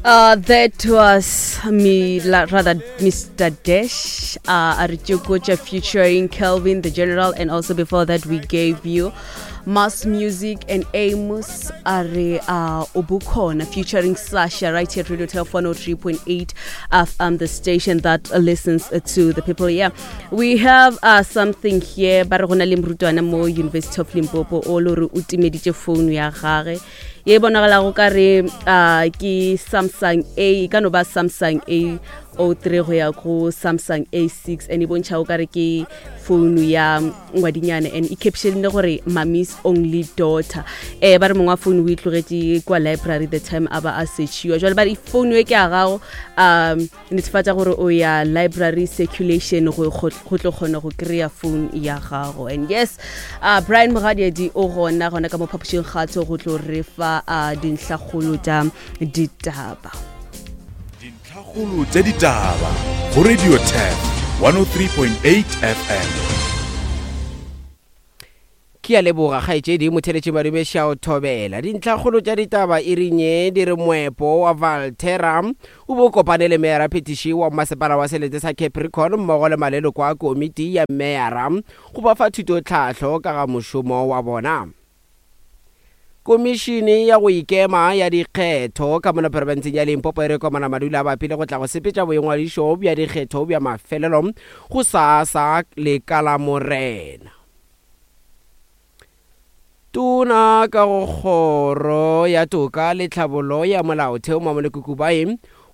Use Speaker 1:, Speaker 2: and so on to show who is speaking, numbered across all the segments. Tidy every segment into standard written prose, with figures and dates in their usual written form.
Speaker 1: That was me, rather Mr. Dash, Arichukocha featuring Kelvin the General, and also before that we gave you Mass Music and Amos Are Obukona featuring Sasha right here at Radio Tel 103.8 FM, the station that listens to the people. Yeah, we have something here. Ba re go na le morutwana mo University of Limpopo o le gore o timeditše phone ya gage ye e bonagalago ka re ke Samsung A, e ka no ba Samsung A 03 go ya go Samsung A6, and e bontšha o ka re ke founu ya ngwadinyana, and e captionile gore "Mommy's only daughter". Ba re mongwe wa founu o e tlogetše kwa library the time a ba a searchiwa. Jwale ba re founu e ke ya gago, netefatša gore o ya library circulation go tlo kgona go kry-a phone ya gago. And yes, Brian Mogadiedi o gona gona ka mo phapošing kgatho go tlo re fa dintlhakgolo tša ditaba.
Speaker 2: Dintlhakgolo tša ditaba go Radio Tap 103.8 FM.
Speaker 3: Ke a leboga kgaetšedi motheletši Madumeša o thobela. Dintlhakgolo tša ditaba e reng ye di re moepo wa Valterra o be o kopane le meyara phetiši wa mmasepala wa selete sa Capricorn mmogo le maleloko a komiti ya meyara go ba fa thutotlhahlo ka ga mošomo wa bona. Komišene ya go ikema ya dikgetho ka mono profenseng ya Limpopo e re komana madula a bapile go tla go sepetša boingwadišo bja dikgetho bja mafelelo go sasa le ka la Morena. Tona ka go Kgoro ya Toka le Tlhabollo ya Molaotheo Mamoloko Kubayi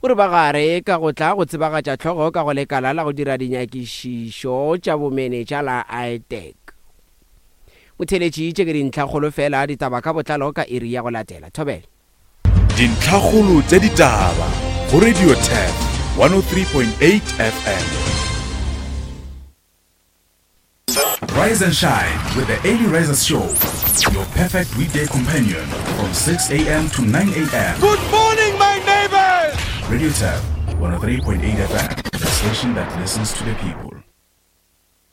Speaker 3: o re ba gare ka go tla go tsebagatša hlogo ka go lekala la go dira dinyakišišo tša bomenetša la ITAC. Motheeletši, tše ke dintlhakgolo fela, ditaba ka botlalo ka iri ya go latela. Thobela.
Speaker 2: Dintlhakgolo tša ditaba go Radio Turf 103.8 FM. Rise and shine with the Early Risers Show, your perfect weekday companion from 6 a.m. to 9 a.m.
Speaker 4: Good morning, my neighbors!
Speaker 2: Radio Turf 103.8 FM, the station that listens to the people.